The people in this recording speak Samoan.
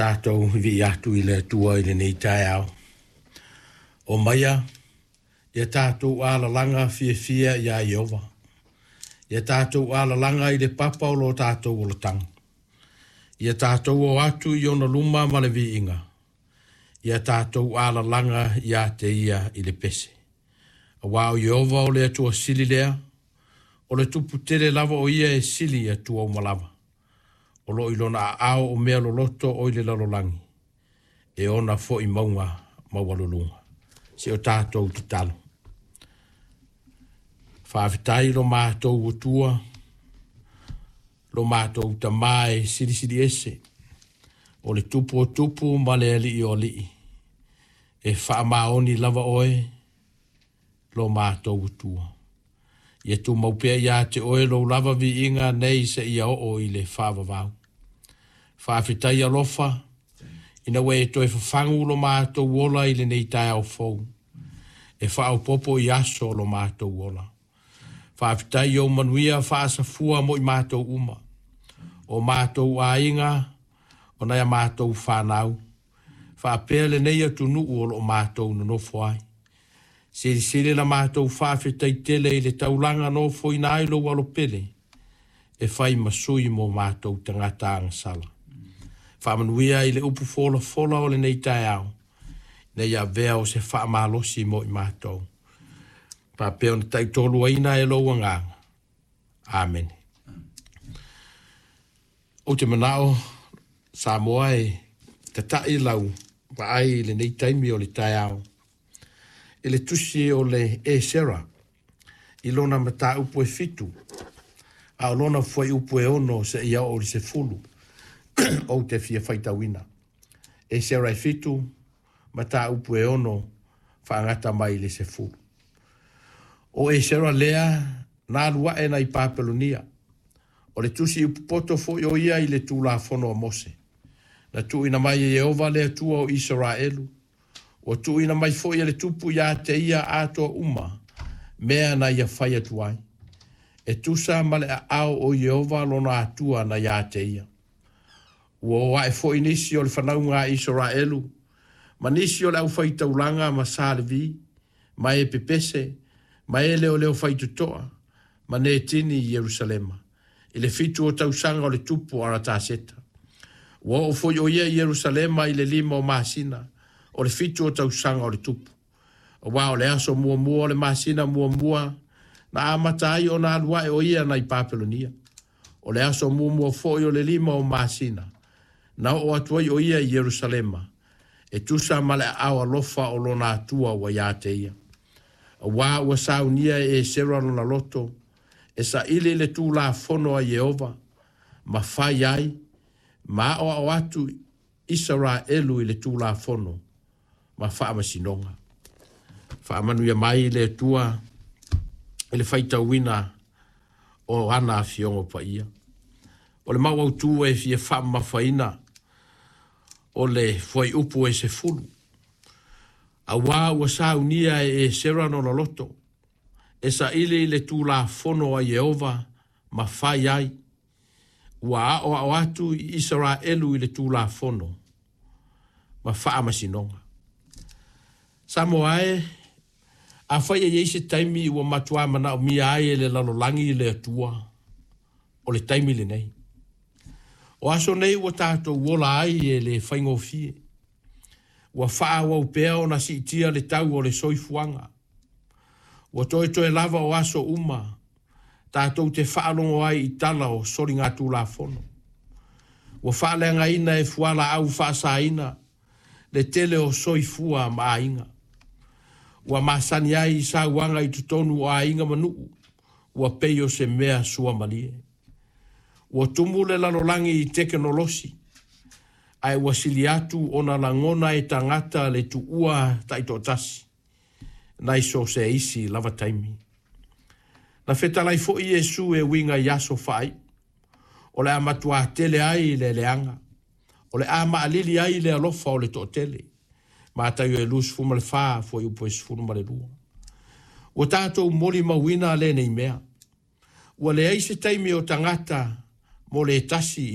Tatou vivii atu i le Atua i lenei taeao. Omaia, ia tatou alalaga fiafia iā Ieova. Ia tatou alalaga i le papa o lo tatou olataga. Ia tatou o atu i ona luma ma le viiga. Ia tatou alalaga iā te ia i le pese. Aua o Ieova o le Atua sili lea, o le Tupu tele lava o ia e sili i atua uma lava. O lo o i lona aao o mea loloto o i le lalolagi, e ona foi mauga maualuluga. Se o tatou tatalo. Faafetai lo matou Atua, lo matou Tama e silisili ese, o le Tupu o tupu ma le Alii o alii, e faamaoni lava oe lo matou Atua. Ia tumau pea ia te oe lou lava viiga nei seia oo i le faavavau. Faafetai alofa, ina ua e toe fafagu lo matou ola i lenei taeao fou, e faaopoopo i aso o lo matou ola. Faafetai i ou manuia faasafua mo i matou uma, o matou aiga, o nai a matou fanau, faapea lenei atunuu o lo o matou nonofo ai. Silisili la matou faafetai tele i le taulaga nofoina ai lou alo pele, e fai ma sui mo matou tagata agasala. Faamanuia i le upu folafola o lenei taeao, ina ia avea o se faamalosi mo i matou. Faapea ona taitoluaina e lou agaga. Amene. Ou te manao Samoa e tata'i lau vaai i lenei taimi o le taeao i le tusi o le Esera i lona mataupu e 7, a o lona fuaiupu e 6 seia oo i le 10 ou te fia faitauina. Esera e 7, mataupu e 6 faagata mai i le 10. O Esera lea na alu ae nai Papelonia, o le tusi upupoto foi o ia i le Tulafono a Mose. Na tuuina mai e Ieova le Atua o Isaraelu, ua tuuina mai foi e le tupu ia te ia atoa uma mea na ia fai atu ai, e tusa ma le aao o Ieova lona Atua na ia te ia. Ua o ae foi nisi o le fanauga a Isaraelu, ma nisi o le aufaitaulaga ma Sa Levi, ma e pepese, ma e leoleo faitotoa, ma Netini i Ierusalema, i le 7 o tausaga o le tupu o Arataseta. Ua oo foi o ia i Ierusalema i le 5 o masina o le 7 o tausaga o le tupu. Aua o le aso muamua o le masina muamua na amata ai ona alu ae o ia nai Papelonia. O le aso muamua foi o le 5 o masina na oo atu ai o ia i Ierusalema, e tusa ma le aao alofa o lona Atua ua ia te ia. Aua ua saunia e Esera lona loto, e saili le Tulafono a Ieova, ma fai ai, ma aoao atu Isaraelu i le Tulafono ma faamasinoga. Faamanuia mai le Atua i le faitauina o ana afioga paia. O le mau autu e fia faamamafaina o le fuaiupu e 10. Aua ua saunia e Esera lona loto, e saili i le Tulafono a Ieova ma fai ai, ua aoao atu i Isaraelu i le Tulafono ma faamasinoga. Samoa e, afai e i ai se taimi ua matua manaomia ai e le lalolagi le Atua, o le taimi lenei. O aso nei ua tatou ola ai e le faigofie. Ua faaauau pea ona siitia le tau o le soifuaga. Ua toetoe lava o aso uma tatou te faalogo ai i tala o soligatulafono. Ua faaleagaina e fualaau faasaina le tele o soifua ma aiga. Ua masani ai i sauaga i totonu o aiga ma nuu, ua pei o se mea suamalie. Ua tumu le lalolagi i tekenolosi, ae ua sili atu ona lagona e tagata le tuua taitoatasi nai so o se isi lava taimi. Na fetalai foi Iesu e uiga i aso faaiu, o le a matuā tele ai le leaga, o le a maalili ai le alofa o le toatele. Mataio e 24, fuaiupu e 12. Ua tatou molimauina lenei mea. Ua leai se taimi o tagata mo le tasi i